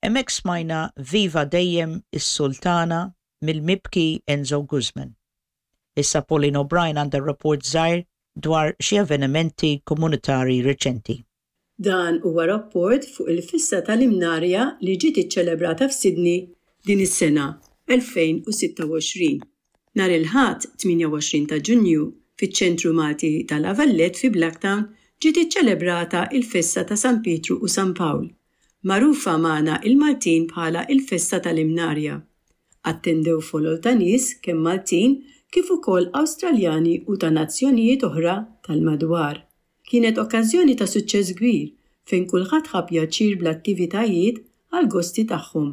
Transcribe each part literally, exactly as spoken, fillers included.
Hemmhekk smajna Viva Dejjem is-Sultana mill-mibki Enzo Guzman. Issa Pauline O'Brien għandha rapport żgħir dwar xi avvenimenti komunitari reċenti. Dan huwa rapport fuq il-festa tal-Imnarja li ġiet iċċelebrata f'Sydney din is-sena elfejn u sitta u għoxrin. Nhar il-Ħadd tmienja u għoxrin ta' Ġunju, fiċ-Ċentru Malti ta' La Valette fi Blacktown ġiet iċċelebrata il-festa ta' San Pietru u San Pawl, magħrufa magħna il-Maltin bħala il-festa tal-Imnarja. Attendew folol ta' nies, kemm Maltin kif ukoll Awstraljani u ta' nazzjonijiet oħra tal-madwar. Kienet okkażjoni ta' suċċess kbir fejn kulħadd ħa pjaċir bl-attivitajiet għal gosti tagħhom,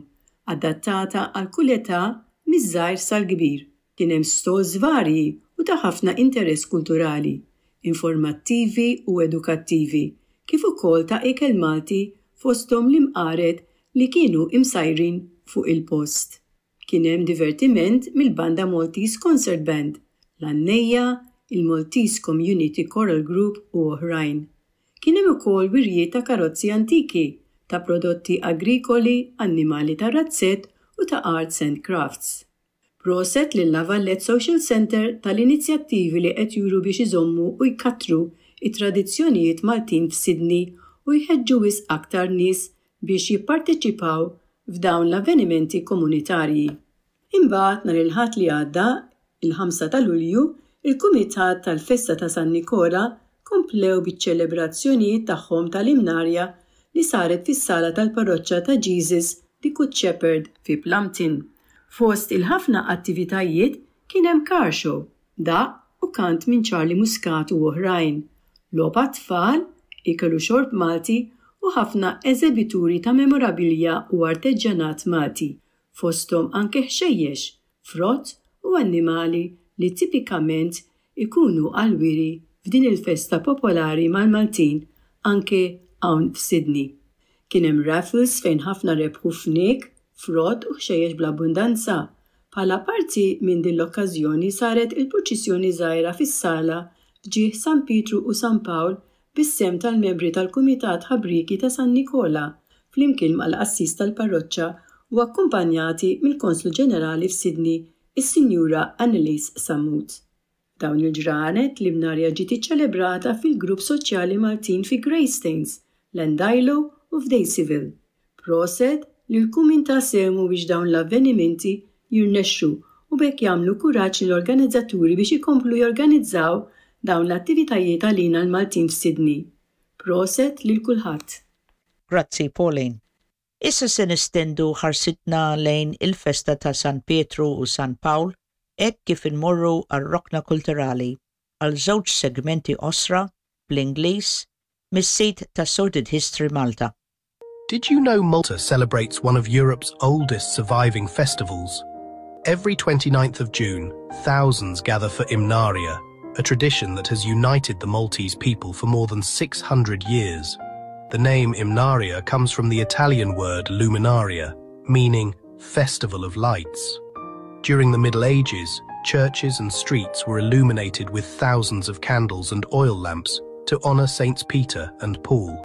adattata għal kull età, miż-żgħir sal-kbir. Kien hemm stalls varji u ta' ħafna interess kulturali, informattivi u edukattivi, kif ukoll ta' ikel Malti, fosthom l-imqaret li kienu imsajrin fuq il-post. Kien hemm divertiment mill-banda Maltese Concert Band, l-Annejja, il-Maltese Community Choral Group u oħrajn. Kien hemm ukoll wirjiet ta' karozzi antiki, ta' prodotti agrikoli, annimali ta' razzett u ta' arts and crafts. Proset lil La Valette Social Center tal-inizjattivi li qed juru biex iżommu u jkattru it-tradizzjonijiet Maltin f'Sydney u jħeġġu wisq aktar nies biex jipparteċipaw f'dawn l-avvenimenti komunitarji. Imbagħad nhar il-Ħadd li għadda, il-ħamsa ta' Lulju, il-Kumitat tal-Festa ta' San Nikola komplew biċ-ċelebrazzjonijiet tagħhom tal-Imnarja li saret fis-sala tal-Parroċċa ta' Jesus the Good Shepherd fi Plumpton. Fost il-ħafna attivitajiet kien hemm car show, daqq u kant minn Charlie Muscat u oħrajn, logħob tfal, ikel u xorb Malti u ħafna eżebituri ta' memorabilja u artiġjanat Malti, fosthom anke ħxejjex, frott u annimali li tipikament ikunu għal-wiri f'din il-festa popolari mal-Maltin anke hawn f'Sydney. Kien hemm raffles fejn ħafna rebħu fniek, frott u ħxejjex bl-abbundanza. Bħala parti minn din l-okkażjoni saret il-purċissjoni żgħira fis-sala f'ġieħ San Pietru u San Pawl bis-sehem tal-membri tal-Kumitat Ħabrieki ta' San Nikola flimkien mal-qassis tal-parroċċa u akkumpanjati mill-Konslu Ġenerali f'Sydney, is-Sinjura Annalise Sammut. Dawn il-ġranet l-Imnarja ġiet iċċelebrata fil-Grupp Soċjali Maltin fi Greystanes, Llandilo u f'Daceyville. Proset lil kull min ta sehmu biex dawn l-avvenimenti jirnexxu u b'hekk jagħmlu kuraġġ l-organizzaturi biex ikomplu jorganizzaw dawn l-attivitajiet għalina l-Maltin f'Sydney. Proset lil kulħadd. Grazzi, Pauline. Issa se nestendu ħarsitna lejn il-festa ta' San Pietru u San Pawl hekk kif inmorru għar-rokna kulturali għal żewġ segmenti qosra bl-Ingliż mis-sit ta' Sordid History Malta. Did you know Malta celebrates one of Europe's oldest surviving festivals? Every twenty-ninth of June, thousands gather for Imnarja, a tradition that has united the Maltese people for more than six hundred years. The name Imnarja comes from the Italian word luminaria, meaning festival of lights. During the Middle Ages, churches and streets were illuminated with thousands of candles and oil lamps to honor Saints Peter and Paul.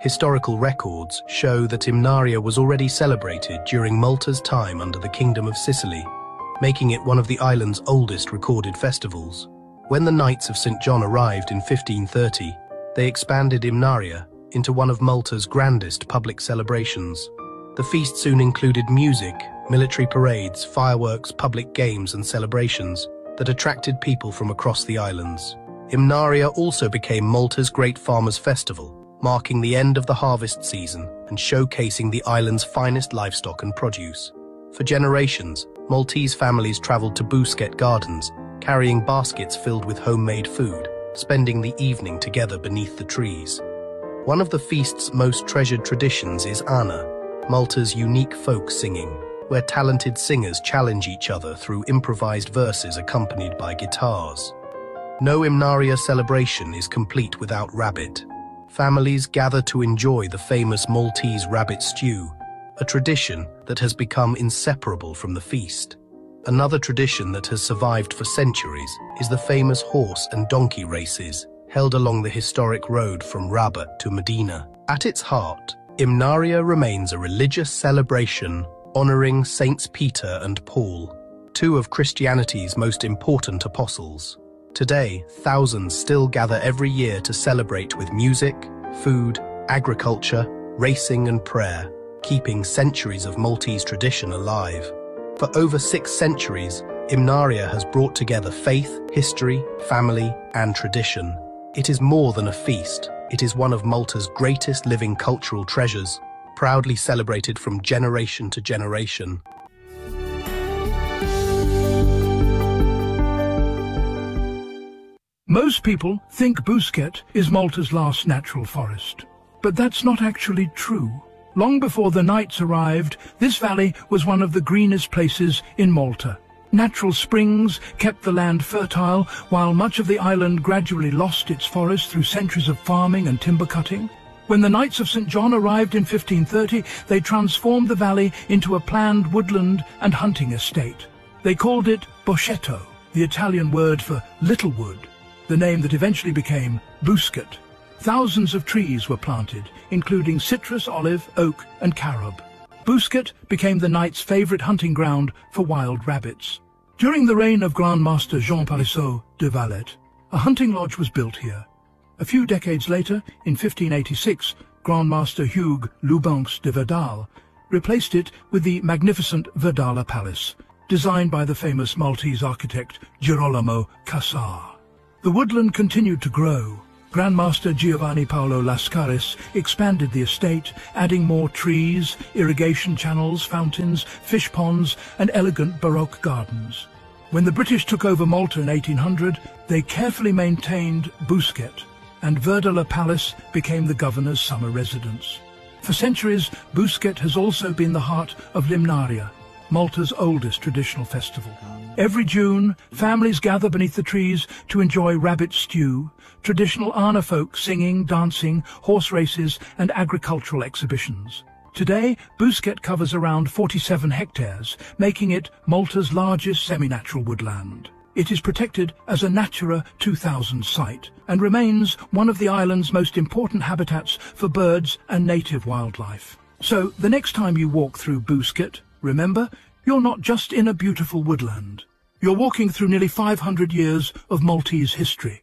Historical records show that Imnarja was already celebrated during Malta's time under the Kingdom of Sicily, making it one of the island's oldest recorded festivals. When the Knights of Saint John arrived in fifteen thirty, they expanded Imnarja into one of Malta's grandest public celebrations. The feast soon included music, military parades, fireworks, public games and celebrations that attracted people from across the islands. Imnarja also became Malta's great farmers' festival, marking the end of the harvest season and showcasing the island's finest livestock and produce. For generations, Maltese families traveled to Buskett Gardens, carrying baskets filled with homemade food, spending the evening together beneath the trees. One of the feast's most treasured traditions is Għana, Malta's unique folk singing, where talented singers challenge each other through improvised verses accompanied by guitars. No Imnarja celebration is complete without rabbit. Families gather to enjoy the famous Maltese rabbit stew, a tradition that has become inseparable from the feast. Another tradition that has survived for centuries is the famous horse and donkey races held along the historic road from Rabat to Mdina. At its heart, Imnarja remains a religious celebration honoring Saints Peter and Paul, two of Christianity's most important apostles. Today, thousands still gather every year to celebrate with music, food, agriculture, racing and prayer, keeping centuries of Maltese tradition alive. For over six centuries, Imnarja has brought together faith, history, family, and tradition. It is more than a feast. It is one of Malta's greatest living cultural treasures, proudly celebrated from generation to generation. Most people think Buskett is Malta's last natural forest, but that's not actually true. Long before the Knights arrived, this valley was one of the greenest places in Malta. Natural springs kept the land fertile, while much of the island gradually lost its forest through centuries of farming and timber cutting. When the Knights of St John arrived in fifteen thirty, they transformed the valley into a planned woodland and hunting estate. They called it Boschetto, the Italian word for little wood, the name that eventually became Buskett. Thousands of trees were planted, including citrus, olive, oak and carob. Buskett became the Knights' favourite hunting ground for wild rabbits. During the reign of Grand Master Jean Parisot de Valette, a hunting lodge was built here. A few decades later, in fifteen eighty-six, Grand Master Hugues Loubenx de Verdale replaced it with the magnificent Verdala Palace, designed by the famous Maltese architect Girolamo Cassar. The woodland continued to grow. Grandmaster Giovanni Paolo Lascaris expanded the estate, adding more trees, irrigation channels, fountains, fish ponds, and elegant Baroque gardens. When the British took over Malta in eighteen hundred, they carefully maintained Buskett, and Verdala Palace became the governor's summer residence. For centuries, Buskett has also been the heart of Limnaria, Malta's oldest traditional festival. Every June, families gather beneath the trees to enjoy rabbit stew, traditional Arna folk singing, dancing, horse races and agricultural exhibitions. Today, Buskett covers around forty-seven hectares, making it Malta's largest semi-natural woodland. It is protected as a Natura two thousand site and remains one of the island's most important habitats for birds and native wildlife. So, the next time you walk through Buskett, remember, you're not just in a beautiful woodland. You're walking through nearly five hundred years of Maltese history,